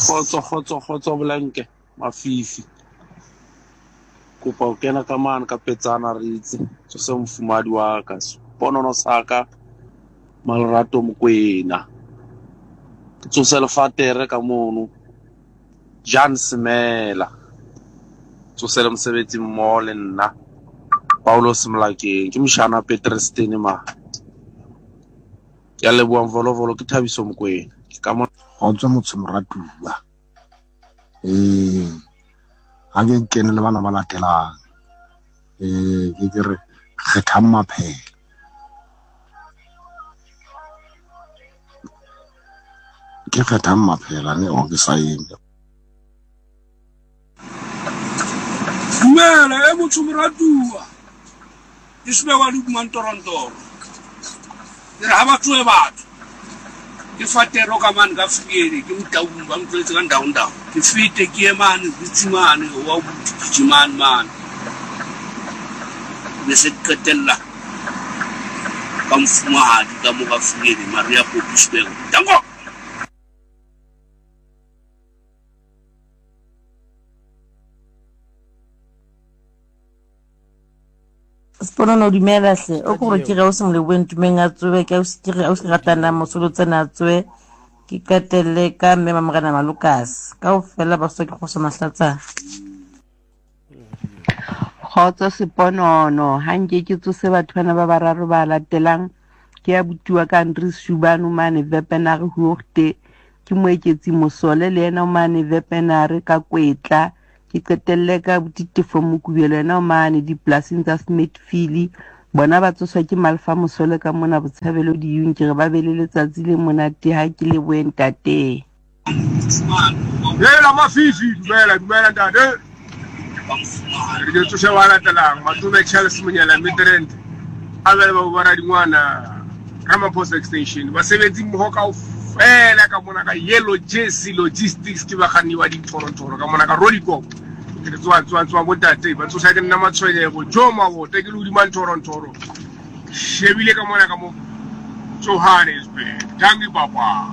Kgotso kgotso kgotso Bolanke Mafifi. Kopa ho kena ka mane ka petsana re itse tsose mofumadi wa ka seponono sa ka Malerato Mokwena. Ke tsose lefatere ka mono Jan Semela. Tsose le mosebetsi mmoho le nna Paulos Molakeng. Ke moshana Petrestene ma. Ke a leboha Mvolovolo ke Thabiso Mokwena. Ke ka mona. Kgotso motho moratuwa. Ee, ga ke kene le bana ba latelang. Ee, ke ke re kgethang maphela. Ke kgethang maphela ne o ke sa eme. Dumela e motho moratuwa ke sebekwa le kumantorontoro ke re ga ba tsoe batho ke fatero ka mane ka friele ke motaung ba ntlwetse ka ndaondao ke fete ke ye mane butsi mane wa buti mane mane be se ke qetella ka mofumahadi ka mo ka friele maria popi sebeko danko. Sponono dumela hle o ke gore ke re o se moleboeng tumeng a tsoe ke ausi ke re ausi ratana mosolo tsena a tsoe ke qetelle ka mme mamorena malokase ka ofela ba soke go se mahlatsana. Kgotso Seponono, ha nke ke tsose batho bana ba bararo ba latelang. Ke ya butiwa ka Andries Shubanu mane Vepenare Hoogte, ke Moeketsi Mosole le yena o mane Vepenare ka Kwetla, ke qetelle ka abuti Tefo Mokubelo yena o mane dipolasing tsa Smithfield. Bona ba tsoswa ke Malfa Mosole ka mona Botshabelo Diyung. Ke re ba be le letsatsi le monate ha ke lebohe ntate. Hela Mafifi, dumela dumela ntate. Re ke tsose ba latelang Matome Charles Monyela Midrand a bele ba ba radingwana Ramaphosa Extension basebetsi mmoho kaofela ka mona ka Yellow Jersey Logistics ke bakganni ba dithorothoro ka mona ka Rolikop ke re tsoa tsoa tsoa bontate ba tsosa ke nna matshwenyego jo mabota ke le hodima nthorontoro shebile ka mona ka mo Johannesburg dankie papa.